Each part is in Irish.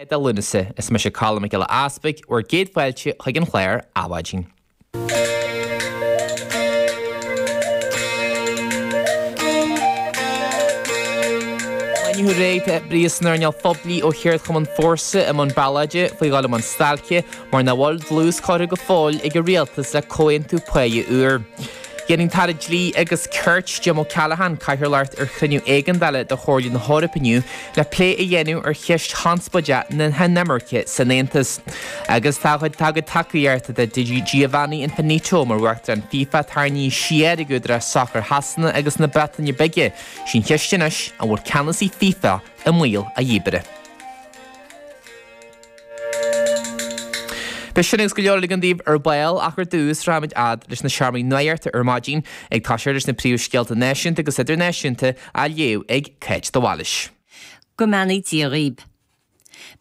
Lá de Lúnasa, is mise Colm Mac Giolla Easpaig, bhur gcéad fáilte chuig an chlár Adhmhaidin. Inniu aréir tá oibrithe san earnáil phoiblí ó cheardchumann Fórsa i mbun ballóide faoi dhul i mbun stailce mar nach bhfuil dlús curtha go fóill ag an rialtas le comhaontú páighe úr. Déanfaidh an tAire Dlí agus Cirt, Jim O'Callaghan, cathaoirleacht ar chruinniú éigeandála de Chomhairle na hEorpa inniu le plé a dhéanamh ar cheist chonspóideach na hinimirce san Aontas. Agus tá a gcuid tacaíochta do Giovanni Infantino mar Uachtarán FIFA tarraingthe siar ag údaráis sacair Shasana agus na Breataine Bige, sí an cheist anois an bhfuil ceannasaí FIFA i mbaol a dhíbrithe. Beidh sin agus go leor eile againn daoibh ar ball ach ar dtús rachaimid fhad leis na seomraí nuachta ar maidin ag toiseacht leis na príomhscéalta náisiúnta agus idirnáisiúnta á léamh ag Cáit de Bhailís. Go mbeannaí Dia dhaoib.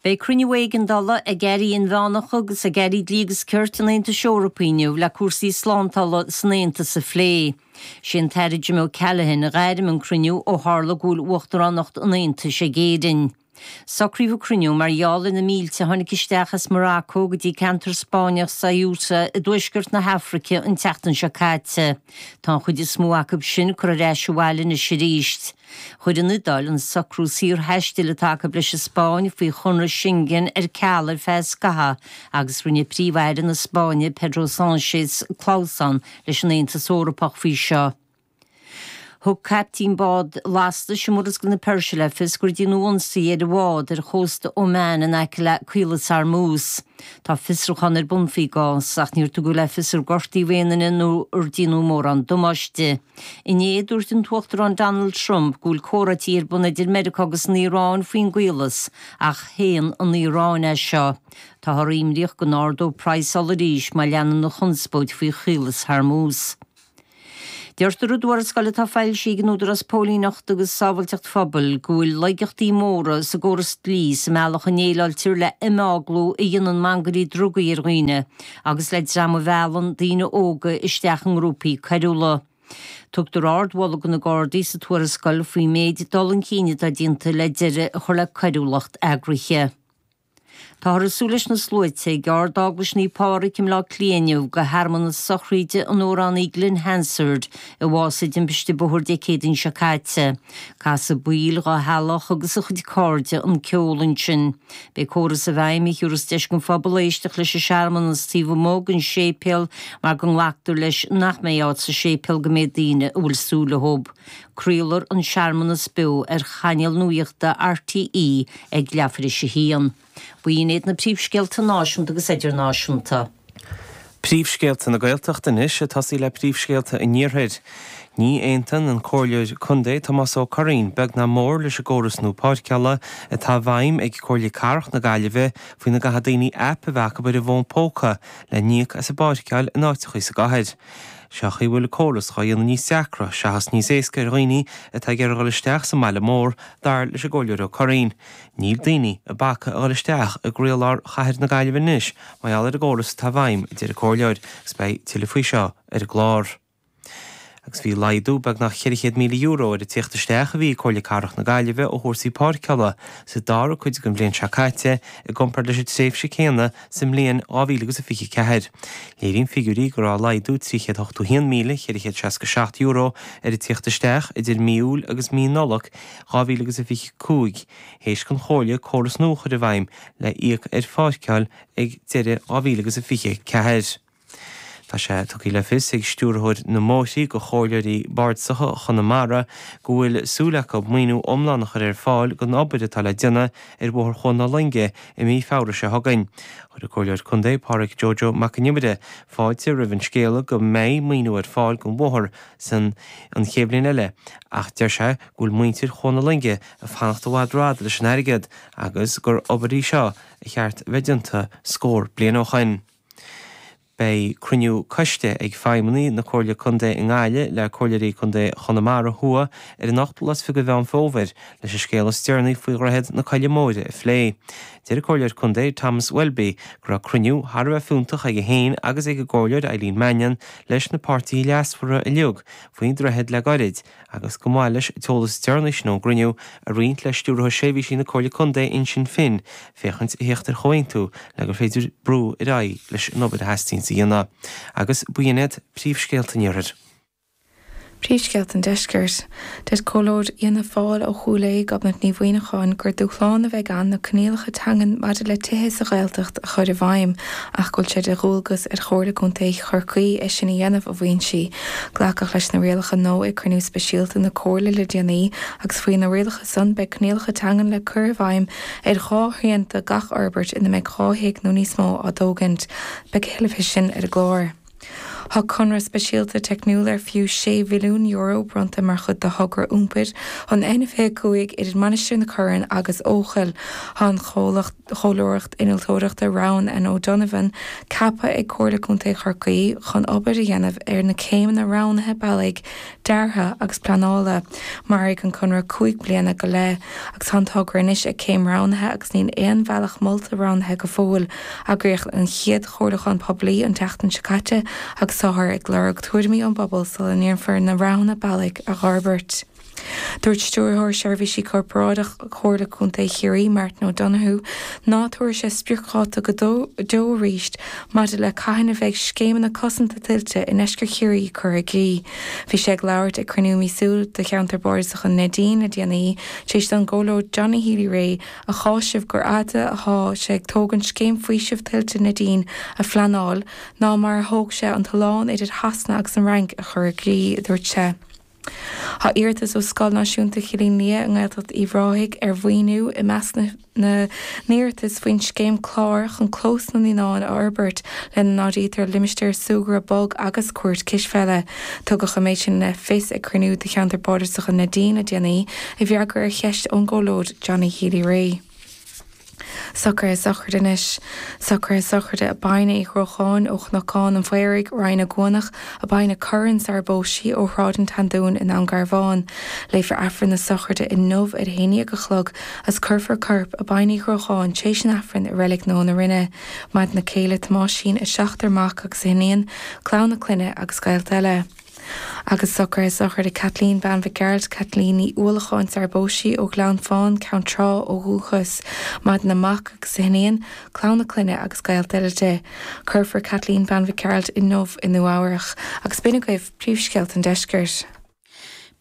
Beidh cruinniú éigeandála ag airí inmheánacha agus ag airí dlí agus cirt an Aontais Eorpaigh inniu le cúrsaí slántála san Aontas a phlé. Sé an tAire Jim O'Callaghan a ghairm an cruinniú ó tharla go bhfuil Uachtaránacht an Aontais ag Éirinn. Socraíodh an cruinniú mar gheall ar na mílte a tháinig isteach as Morocco go dtí ceantar Spáinneach Ceuta i dtuaisceart na hAfraice an tseachtain seo caite. Tá an chuid is mó acu sin curtha ar ais abhaile anois arís. Chuir an Iodáil an socrú saorthaistil atá acu leis an Spáinn faoi chonradh Schengen ar ceal ar feadh scaithimh agus rinne Príomh-Aire na Spáinne Pedro Sánchez clamhsán leis an Aontas Eorpach faoi seo. Thug caiptín bád lastais i Murascaill na Peirse le fios gur déanadh ionsaí ar a bhád ar chósta Oman in aice le Caolas Hormuz. Tá fiosrúchán ar bun faoin gcás ach níor tugadh le fios ar gortaíodh aon duine nó ar déanadh mórán damáiste. Inné, dúirt an tUachtarán Donald Trump go bhfuil comhráití ar bun idir Meiriceá agus an Iaráin faoin gcaolas ach shéan an Iaráin é seo. Táthar imníoch go n-ardóidh praghas ola arís má leanann an chonspóid faoi Chaolas Hormuz. Deirtear i dtuarascáil atá foilsithe ag an Údarás Póilíneachta agus Sábháilteacht Phobail go bhfuil laigeachtaí móra sa gcóras dlí sa mbealach a ndéileáiltear le himeaglú a dhéanann mangairí drugaí ar dhaoine agus le dream a mheallann daoine óga isteach i ngrúpaí coiriúla. Tugtar ardmholadh do na Gardaí sa tuarascáil faoin méid dul chun cinn atá déanta le deireadh a chur le coiriúlacht eagraithe. Táthar ag súil leis na sluaite ag Ard-Eaglais Naomh Pádraig i mBleá Cliath inniu do shearmanas sochraíde an amhránaí Glen Hansard, a bhásaigh i dtimpiste bóthair Dé Céadaoin seo caite. Casfaidh baill dá theaghlach agus a chuid cairde an ceol ansin. Beidh córas i bhfeidhm a thiúrfas deis don phobal éisteacht leis an searmanas taobh amuigh den séipéal mar go nglactar leis nach mbeidh áit sa séipéal don méid daoine a bhfuil súil leo. Craolfar an searmanas beo ar chainéal nuachta RTÉ ag leathuair tar éis a haon. B'in iad na príomhscéalta náisiúnta agus idirnáisiúnta. Príomhscéalta na Gaeltachta anois, ag tosaí le príomhscéalta an Iarthair. Ní aontaíonn an Comhairleoir Contae Tomás Ó Curraoin beag ná mór leis an gcóras nua páirceála atá i bhfeidhm ag Comhairle Cathrach na Gaillimhe faoina gcaithfidh daoine aip a bheith acu ar a bhfón póca le n-íoc as a bpáirceáil in áiteachaí sa gcathair. Seo chaoi a bhfuil an córas dhá dhéanamh níos deacra seachas níos éasca ar dhaoine atá ag iarraidh dhul isteach sa mbaile mór, dar leis an gComhairleoir Ó Curraoin. Níl daoine ag bacadh a dhul isteach i gcroílár chathair na Gaillimhe anois mar gheall ar an gcóras atá i bhfeidhm, a deir an Comhairleoir, agus beidh tuilleadh faoi seo ar an gclár. Agus bhí laghdú beagnach €400,000 ar an tíocht isteach a bhí ag Comhairle Cathrach na Gaillimhe ó chúrsaí páirceála sa dara cuid den bhliain seo caite i gcomparáid leis an tréimhse céanna sa mbliain 2024. Léiríonn figiúirí go raibh laghdú €381,467 ar an tíocht isteach idir mí Iúil agus mí Nollag 2025, théis don Chomhairle córas nua a chur i bhfeidhm le íoc ar pháirceáil ag deireadh 2024. Tá sé tugtha le fios ag Stiúrthóir na mBóithrí do Chomhairleoirí Bardasacha Chonamara go bhfuil súil acu maoiniú iomlán a chur ar fáil don obair atá le déanamh ar Bhóthar Chuan na Loinge i mí Feabhra seo chugainn. Chuir an Comhairleoir Contae Pádraig Joe Joe Mac an Iomaire fáilte roimh an scéala go mbeidh maoiniú ar fáil don bhóthar san an chéad bhliain eile ach deir sé go bhfuil muintir Chuan na Loinge ag fanacht i bhfad rófhada leis an airgead agus gur obair í seo a cheart a bheith déanta scór bliain ó shoin. Beidh cruinniú coiste ag feidhmeannaigh na Comhairle Contae i nGaillimh le Comhairleoirí Contae Chonamara Thuaidh ar an ochtú lá is fiche de Mheán Fómhair leis an scéal is deireanaí faoi Dhroichead na Coille Móire a phlé. Deir an Comhairleoir Contae Thomas Welby go raibh cruinniú thar a bheith fiúntach aige féin agus ag an gComhairleoir Eileen Mannion leis na páirtithe leasmhara uilig faoin droichead le gairid agus go mba mhaith leis an t-eolas is deireanaí sin ón gcruinniú a roinnt le Stiúrthóir Seirbhísí na Comhairle Contae Uinseann Finn féachaint a theacht ar chomhaontú le gur féidir brú ar aghaidh leis an obair a theastaíonns a dhéanamh. Agus b'in iad príomhscéalta an Iarthair. Príomhscéalta an Deiscirt. Deir Comhairleoir Fhianna Fáil ó Chúil Aodha, Gobnait Ní Mhuineacháin, gur dúshlán a bheidh ann na coinníollacha teangan maidir le tithe sa Ghaeltacht a chur i bhfeidhm ach go bhfuil sé de dhualgas ar Chomhairle Contae Chorcaí é sin a dhéanamh, a mhaíonn sí. Glacadh leis na rialacha nua ag cruinniú speisialta na Comhairle le déanaí agus faoi na rialacha san beidh coinníollacha teangan le cur i bhfeidhm ar dhá thrian de gach fhorbairt ina mbeidh 2 thigh nó níos mó á dtógaint. Beidh a thuilleadh faoi sin ar an gclár. Tá conradh speisialta teicniúil ar fiú €6 mhilliún bronnta mar chuid de thogra iompair an N25 idir Mainistir na Corann agus Eochaill. Tá an chomhairleoireacht innealtóireachta Rowan and O'Donovan ceaptha ag Comhairle Contae Chorcaí chun obair a dhéanamh ar na céimeanna roghnaithe bealaigh, deartha agus pleanála. Mairfidh an conradh 5 bliana go leith agus tá an togra anois ag céim roghnaithe agus níl aon bhealach molta roghnaithe go fóill. Eagraíodh an chéad chomhairliúchán poiblí an tseachtain seo caite agus táthar ag lorg tuairimí ón bpobal sula ndéanfar na roghanna bealaigh a fhorbairt. Dúirt Stiúrthóir Seirbhísí Corparáideach Chomhairle Contae Chiarraí, Martin O'Donoghue, ná tabharfaidh sé spriocdháta go deo arís maidir le cathain a bheidh scéimeanna cosanta tuilte i ndeisceart Chiarraí curtha i gcrích. Bhí sé ag labhairt ag cruinniú míosúil de Cheantar Bardasach an Neidín le déanaí, tar éis don gComhairleoir Johnny Healy-Rae a cháiseamh gur fhaide athá sé ag tógaint scéim faoisimh tuilte Neidín a phleanáil ná mar a thóg sé an t-oileán idir Shasana agus an Fhrainc a chur i gcrích, a dúirt sé. Tá iarratas ó Scoil Náisiúnta Chillín Liath i nGaeltacht Uíbh Ráthaigh ar mhaoiniú i measc na n-iarratas faoin scéim Clár chun Clós na Naíonán a Fhorbairt, lena n-áirítear limistéar súgartha bog agus cúirt cispheile. Tugadh an méid sin le fios ag cruinniú de Cheantar Bardasach an Neidín le déanaí, i bhfreagra ar cheist ón gComhairleoir Johnny Healy-Rae. Socruithe sochraide anois. Socruithe sochraide Abina Uí Ghrócháin ó Chnocán an Phaoraigh, Rinn na gCuanach, Abina Curran sara bpós sí ó Shráid an tSeandúin i nDún Garbhán. Léifear Aifreann na sochraide inniu ar a haon dhéag a chlog agus cuirfear corp Abina Uí Ghrócháin tar éis an Aifrinn i Reilig Nua na Rinne. Maireann a céile Tomáisín, a seachtar mac agus a hiníon, clann a clainne agus gaolta eile. Agus socruithe sochraide Kathleen Bean Mhic Gearailt, Kathleen Ní Uallacháin sara bpós sí ó Ghleann Fáin, Ceann Trá ó dhúchas. Maireann a mac agus a hiníon, clann a clainne agus gaolta eile di. Cuirfear Kathleen Bean Mhic Gearailt inniu i Nua Eabhrach. Agus b'in agaibh príomhscéalta an deiscirt.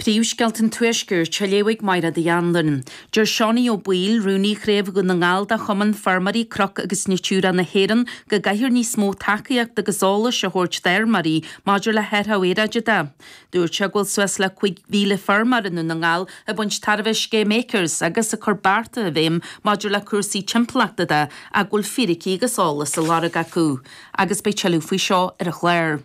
Príomhscéalta an Tuaiscirt á léamh ag Máire Uí Anluain. Deir Seánie Ó Baoill, Rúnaí Chraobh Dhún na nGall de Chumann Feirmeoirí Cnoc agus Natura na hÉireann, go gcaithfear níos mó tacaíochta agus eolais a thabhairt d'fheirmeoirí maidir le hathrú aeráide de. Dúirt sé go bhfuil suas le 5,000 feirmeoir i nDún na nGall ag baint tairbhe as scéim Acres agus ag cur bearta i bhfeidhm maidir le cúrsaí timpeallachta de ach go bhfuil fíricí agus eolas á lorg acu. Agus beidh tuilleadh faoi seo ar an chlár.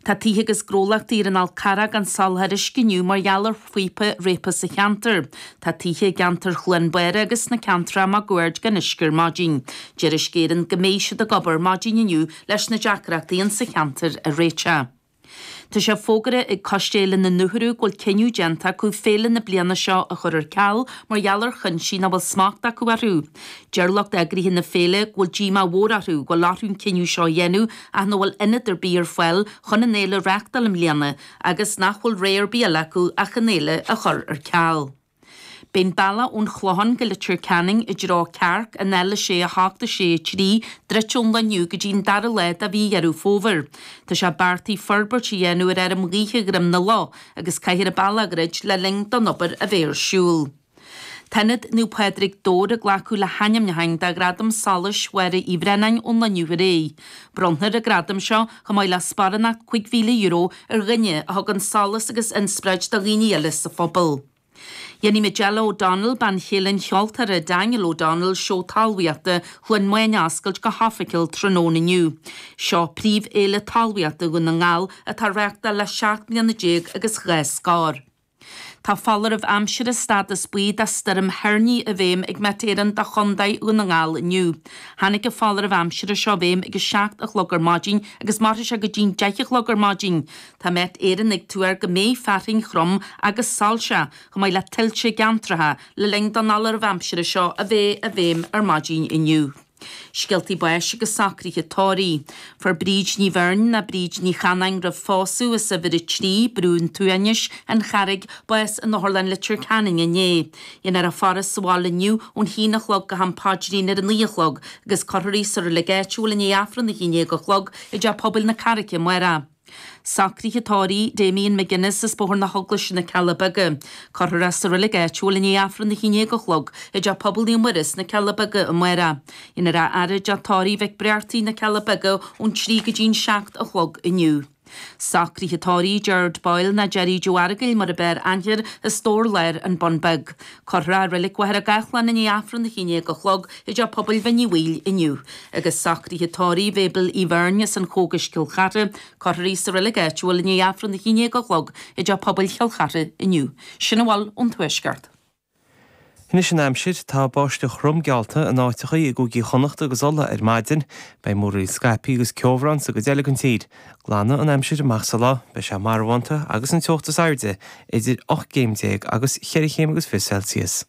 Tá tithe agus gnólachtaí ar an Fhál Carrach gan soláthar uisce inniu mar gheall ar phíopa réabtha sa cheantar. Tá tithe i gceantar Chluain Bára agus sna ceantracha máguaird gan uisce ar maidin. Deir Uisce Éireann go mbeidh siad ag obair maidin inniu leis na deacrachtaí insa cheantar a réiteach. Tá sé fógartha ag Coiste Fhéile na nUachtarú go bhfuil cinneadh déanta acu féile na bliana seo a chur ar ceal mar gheall ar chuinsí nach bhfuil smacht acu orthu. Deir lucht eagraithe na féile go bhfuil díomá mhór orthu go bhfuil orthu an cinneadh seo a dhéanamh ach nach bhfuil ionad ar bith ar fáil chun an fhéile a reáchtáil i mbliana agus nach bhfuil rogha ar bith eile acu ach an fhéile a chur ar ceal. Beidh an bealach ón Chlochán go Leitir Ceanainn i dtreo Cearc, an L6 8 6 3, druidte ón lá inniu go dtí an dara lá de mhí Dheireadh Fómhair. Tá sé beartaithe forbairt a dhéanamh ar fheirm ghaoithe Dhroim na Loch agus caithfear an bealach a dhruid le linn don obair a bheith ar siúl. Tá Ionad Naomh Pádraig Dobhair ag glacadh le hainmniúcháin do Ghradam Solais Mháire Uí Bhraonáin ón lá inniu ar aghaidh. Bronnfar an gradam seo, chomh maith le sparánacht €5,000 ar dhuine a thugann solas agus inspioráid do dhaoine eile sa phobal. Dhéanfaidh Majella O'Donnell, bean chéile an cheoltóra Daniel O'Donnell, Seó Talmhaíochta Chluain Maine a oscailt go hoifigiúil tráthnóna inniu. Seo príomhfhéile talmhaíochta Dhún na nGall atá á reáchtáil le 17 mbliana agus dhá scór. Tá foláireamh aimsire stádas buí do Stoirm Thoirní i bhfeidhm ag Met Éireann do Chondae Dhún na nGall inniu. Tháinig an foláireamh aimsire seo i bhfeidhm ag 7 a chlog ar maidin agus mairfidh sé go dtí'n 10 a chlog ar maidin. Tá Met Éireann ag tuar go mbeidh fearthainn throm agus soilseach, chomh maith le tuilte i gceantracha, le linn don fholáireamh aimsire seo a bheith i bhfeidhm ar maidin inniu. Scéaltaí báis agus socruithe tórraimh. Fuair Bríd Ní Bheirn ná Bríd Ní Chanáin roimh phósadh as uimhir 3, Brú an tSuaimhnis, An Charraig, bás in Otharlann Leitir Ceanainn inné. Dhéanfar í a faire sa bhaile inniu ón haon a chlog go ham paidrín ar a naoi a chlog agus cuirfear í sa reilig áitiúil i ndiaidh Aifreann a haon déag a chlog i dTeach Pobail na Carraice amárach. Socruithe tórraimh Damien McGuinness as Bóthar na hEaglaise na Cealla Beaga. Cuirfear é sa reilig áitiúil i ndiaidh Aifreann a haon déag a chlog i dTeach Pobail Naomh Muire sna Cealla Beaga amárach. Dhéanfar é a fhaire i dTeach Tórraimh Mhic Bréartaigh na Cealla Beaga ón 3 go dtí'n 7 a chlog inniu. Socruithe tórraimh Gerard Boyle ná Gerry Joe Fheargail mar ab fhearr aithne air as Dobhar Láir An Bun Beag. Cuirfear é i Reilig Mhachaire Gathlán i ndiaidh Aifreann a haon déag a chlog i dTeach Pobail Bhinn Uí Bhaoill inniu. Agus socruithe tórraimh Mabel Uí Bheirn as an Chógais Cill Chartha, cuirfear í sa reilig áitiúil i ndiaidh Aifreann a haon déag a chlog i dTeach Pobail Chill Chartha inniu. Sin a bhfuil ón Tuaisceart. Anois an aimsir, tá báisteach throm geallta in áiteachaí i gcúigí Chonnacht agus Uladh ar maidin. Beidh múraíl scaipthe agus ceobhrán sa gcuid eile den tír. Glanfaidh an aimsir amach sa lá, beidh sé marbhánta agus an teocht is airde idir 18 gcéim agus cheithre chéim agus 20 Celsius.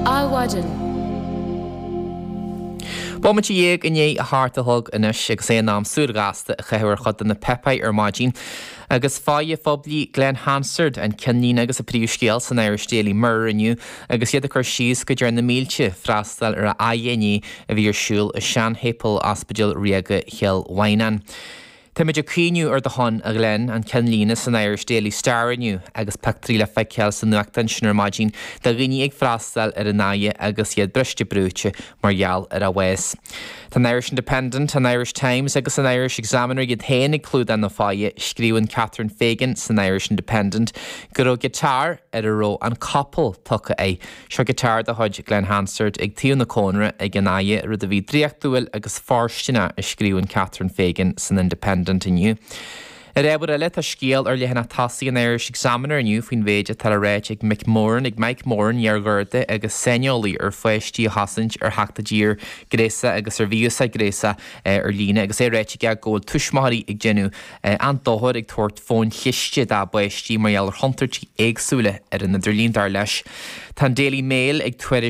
Adhmhaidin. Bomaite dhéag i ndiaidh a hocht a chlog anois agus é in am súil ghasta a chaitheamh ar chuid de na páipéir ar maidin. Agus fáidhe phoiblí Glen Hansard an ceannlíne agus an príomhscéal san Irish Daily Mirror inniu agus iad ag cur síos go dtearn na mílte freastal ar a fhaire inné a bhí ar siúl i Seanshéipéal Ospidéal Ríoga Chill Mhaighneáin. Táimid ag caoineadh ar do shon, a Ghlen, an ceannlíne san Irish Daily Star inniu agus pictiúirí le feiceáil sa nuachtán sin ar maidin de dhaoine ag freastal ar an fhaire agus iad briste brúite mar gheall ar a bhás. Tá an Irish Independent, an Irish Times agus an Irish Examiner iad féin ag clúdach na fáidhe. Scríobhann Catherine Fagan san Irish Independent go raibh giotár ar a raibh an capall tugtha air Seo giotár de chuid Glen Hansard ag taobh na cónra ag an fhaire, rud a bhí draíochtúil agus fóirsteanach, a scríobhann Catherine Fagan san Independent inniu. Ar ábhar eile, tá scéal ar leathanach tosaigh an Irish Examiner inniu faoin mhéid atá le ráit ag Mick Moran, ag Mike Moran, iar-Gharda agus saineolaí ar pháistí a chosaint ar theacht i dtír gréasach agus ar mhí-úsáid gréasach ar líne, agus é ráite aige go bhfuil tuismitheoirí ag déanamh an-dochar ag tabhairt fóin chliste dá bpáistí mar gheall ar chontúirtí éagsúla ar an idirlíon, dar leis. Tá an Daily Mail ag tuairisciú.